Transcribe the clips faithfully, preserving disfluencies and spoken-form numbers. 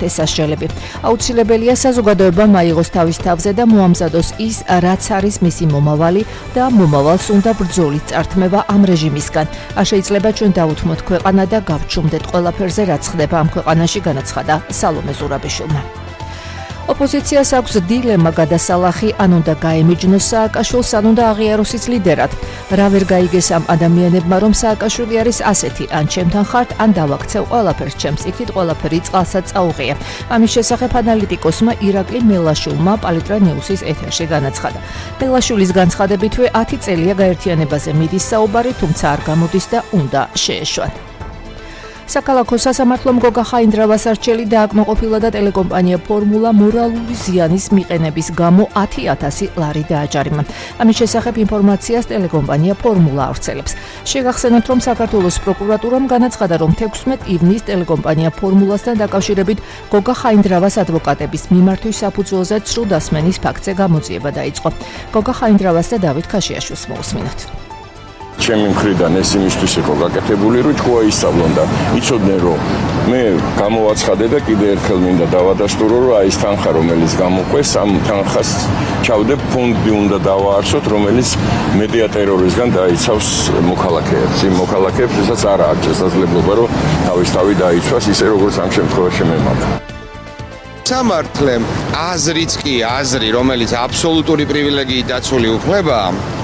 ესაშელები. აუცილებელია საზოგადოებამ აიღოს თავის თავზე და მოამზადოს ის, რაც არის მისი მომავალი და მომავალს უნდა ბრძოლით წართმევა ამ რეჟიმისგან. არ შეიძლება ჩვენ დავუთმოთ ქვეყანა და გავჩუმდეთ ყველაფერზე, რაც ხდება ამ ქვეყანაში, განაცხადა სალომე ზურაბიშვილმა. ოპოზიციას აქვს დილემა გადასალახი, ან უნდა გაემიჯნოს სააკაშვილს, ან უნდა აღიაროს ის ლიდერად. რა ვერ გაიგეს ამ ადამიანებმა, რომ სააკაშვილი არის ასეთი, ან ჩემთან ხართ, ან დავაქცევ ყველაფერს ჩემს იქით, ყველაფერი წყალსაც წაუღია. ამის შესახებ ანალიტიკოსმა ირაკლი მელაშვილმა პალიტრა ნიუსის ეთერში განაცხადა. მელაშვილის განცხადებითვე ათი წელია გაერთიანებაზე მიდის საუბარი, თუმცა არ გამოდის და უნდა შეეშვათ. საქალაქო სასამართლომ გოგა ხაინდრავას არჩელი დააკმაყოფილა და ტელეკომპანია ფორმულა მორალური ზიანის მიყენების გამო ათი ათასი ლარი დააჯარიმა. ამის შესახებ ინფორმაციას ტელეკომპანია ფორმულა ავრცელებს. შეგახსენებთ, რომ საქართველოს პროკურატურამ განაცხადა, რომ თექვსმეტ ივნისს ტელეკომპანია ფორმულასთან დაკავშირებით გოგა ხაინდრავას ადვოკატების მიმართვის საფუძველზე ცრუდასმენის ფაქტზე გამოძიება დაიწყო. გოგა ხაინდრავას და დავით ქაშიაშვილს მოусმინოთ. ჩემი მხრიდან ეს იმისთვის იყო გაკეთებული, რომ თქვა ისწავლონ და იცოდნენ, რომ მე გამოვაცხადე და კიდე ერთხელ მინდა დავადასტურო, რომ აი ეს თანხა, რომელიც გამოყვეს, ამ თანხას ჩავდებ ფონდი უნდა დავაარსოთ, რომელიც მედია ტერორიზმგან დაიცავს მოქალაქეებს. იმ მოქალაქეებს, ვისაც არ აქვს შესაძლებლობა, რომ თავისთავად დაიცვას, ისე როგორც ამ შემთხვევაში მე მაქვს. სამართლემ აზრიც კი აზრი, რომელიც აბსოლუტური პრივილეგიით დაცული უფლება,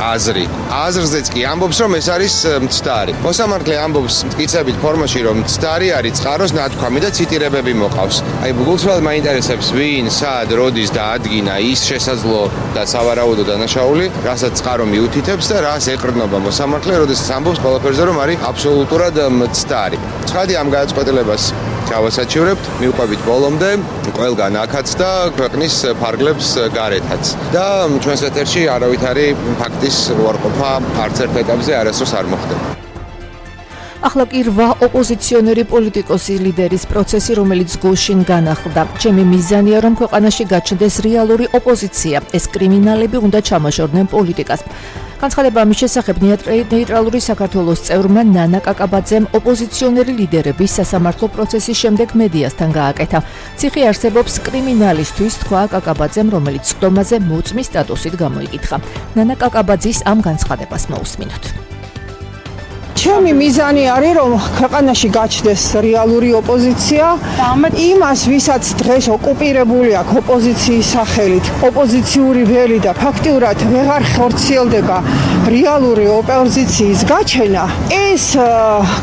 აზრი. აზრზეც კი ამბობს, რომ ეს არის მცდარი. მოსამართლე ამბობს მტკიცებით ფორმაში, რომ მცდარი არის წყაროს ნათქვამი და ციტირებები მოყავს. აი, გულწრფელად მაინტერესებს, ვინ, სად, როდის და ადგინა ის შესაძლო და სავარაუდო დანაშაული, რასაც წყარო მიუთითებს და რას ეყრდნობა მოსამართლე, როდესაც ამბობს ყველაფერზე, რომ არის აბსოლუტურად მცდარი. ცხადი ამ გადაწყვეტილებას გავასაჩივრებთ, მივყვებით ბოლომდე, ყველგან აქაც და ქვეყნის ფარგლებს გარეთაც. და ჩვენს ეთერში არავითარი ფაქტის უარყოფა არც ერთ ეტაპზე არასდროს არ მოხდება. ახლა კი რვა ოპოზიციონერი პოლიტიკოსი ლიდერის პროცესი, რომელიც გუშინ განახლდა. ჩემი მიზანია, რომ ქვეყანაში გაჩნდეს რეალური ოპოზიცია. ეს კრიმინალები უნდა ჩამოშორდნენ პოლიტიკას. განცხადება ამის შესახებ ნეიტრალური საქართველოს წევრმა ნანა კაკაბაძემ ოპოზიციონერი ლიდერების სასამართლო პროცესის შემდეგ მედიასთან გააკეთა. ციხე არსებობს კრიმინალისტვის, თქვა კაკაბაძემ, რომელიც სხდომაზე მოწმის სტატუსით გამოიკითხა. ნანა კაკაბაძის ამ განცხადებას მოусმინოთ. ჩემი მიზანი არის, რომ ქვეყანაში გაჩნდეს რეალური ოპოზიცია. იმას, ვისაც დღეს ოკუპირებული აქვს ოპოზიციის სახელით, ოპოზიციური ველი და ფაქტიურად ვეღარ ხორციელდება რეალური ოპოზიციის გაჩენა, ეს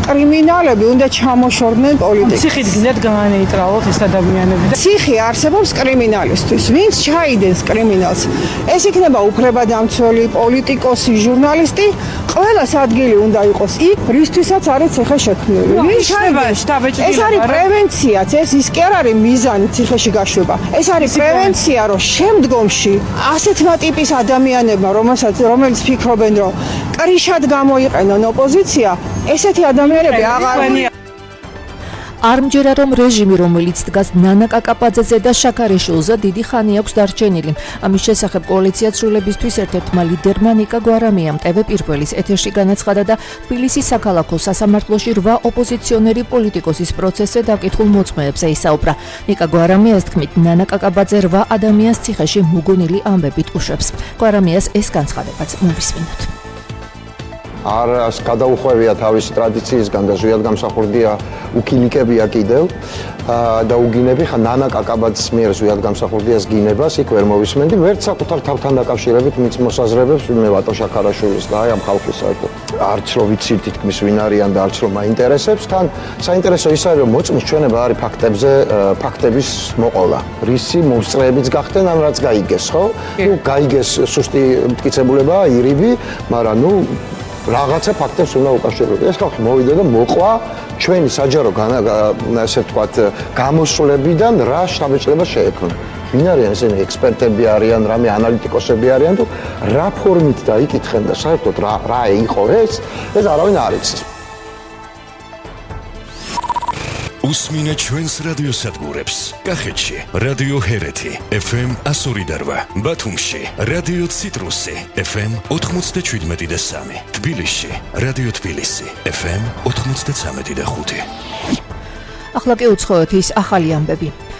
კრიმინალები უნდა ჩამოშორდნენ პოლიტიკას. ციხით გინდათ განეიტრალოთ ეს ადამიანები. ციხე არსებობს კრიმინალისტვის. ვინც ჩაიდენს კრიმინალს, ეს იქნება უფლებადამცველი, პოლიტიკოსი, ჟურნალისტი, ყველას ადგილი უნდა იყოს იქ, რისთვისაც არის ციხე შექმნილი. ვინ ჩაიდენს? ეს არის პრევენციაც, ეს ის კი არ არის მიზანი ციხეში გაშვება. ეს არის პრევენცია, რომ შემდგომში ასეთმა ტიპის ადამიანებმა, რომელსაც რომელიც ფიქრობენ, რომ კრიშად გამოიყენონ ოპოზიცია, ესეთი ადამიანები აღარ არ მჯერა, რომ რეჟიმი, რომელიც დგას ნანა კაკაბაძეზე და შაქარიშვილზე, დიდი ხანი აქვს დარჩენილი. ამის შესახებ კოალიცია ცვლილებისთვის ერთ-ერთმა ლიდერმა ნიკა გვარამიამ ტევ პირველის ეთერში განაცხადა და თბილისის საქალაქო სასამართლოში რვა ოპოზიციონერი პოლიტიკოსის პროცესზე დაკითხულ მოწმეებზე ისაუბრა. ნიკა გვარამიას თქმით, ნანა კაკაბაძე რვა ადამიანს ციხეში მოგონილი ამბებით უშვებს. გვარამიას ეს განცხადებაც მოვისმინოთ. არას გადაუხვევია თავისი ტრადიციისგან და ზუსტად გამსახურდია უკილიკებია კიდევ და უგინები ხა ნანა კაკაბაძის მიერ ზუსტად გამსახურდიას გინებას იქ ვერ მოვისმენდი ვერც საკუთარ თავთან დაკავშირებით მის მოსაზრებებს მე ვატო შაქარაშვილის და აი ამ ხალხის საერთოდ არც რო ვიცით თითქმის ვინ არიან და არც რო მაინტერესებს თან საინტერესო ის არის რომ მოწმის ჩვენება არის ფაქტებზე ფაქტების მოყოლა რისი მოსწრეებიც გახდნენ ამ რაც გაიგეს ხო ნუ გაიგეს სუსტი მტკიცებულებაა ირიბი მაგრამ ნუ რაღაცა ფაქტებს უნდა უკავშირდეს. ეს ხალხი მოვიდა და მოყვა ჩვენი საჯარო ასე ვთქვათ გამოსვლებიდან რა შთაბეჭდილება შეექმნა. ვინ არიან ესენი ექსპერტები არიან, რამე ანალიტიკოსები არიან თუ რა ფორმით დაიკითხენ და საერთოდ რა რა იყო ეს? ეს არავინ არ იცის. უსმინე ჩვენს რადიოსადგურებს. კახეთში რადიო ჰერეთი ეფ ემ εκατო ორი და რვა, ბათუმში რადიო ციტრუსი ეფ ემ ოთხმოცდაშვიდმეტი და სამი, თბილისში რადიო თბილისი ეფ ემ ოთხმოცდაცამეტი და ხუთი. ახლა კი უცხოეთის ახალი ამბები.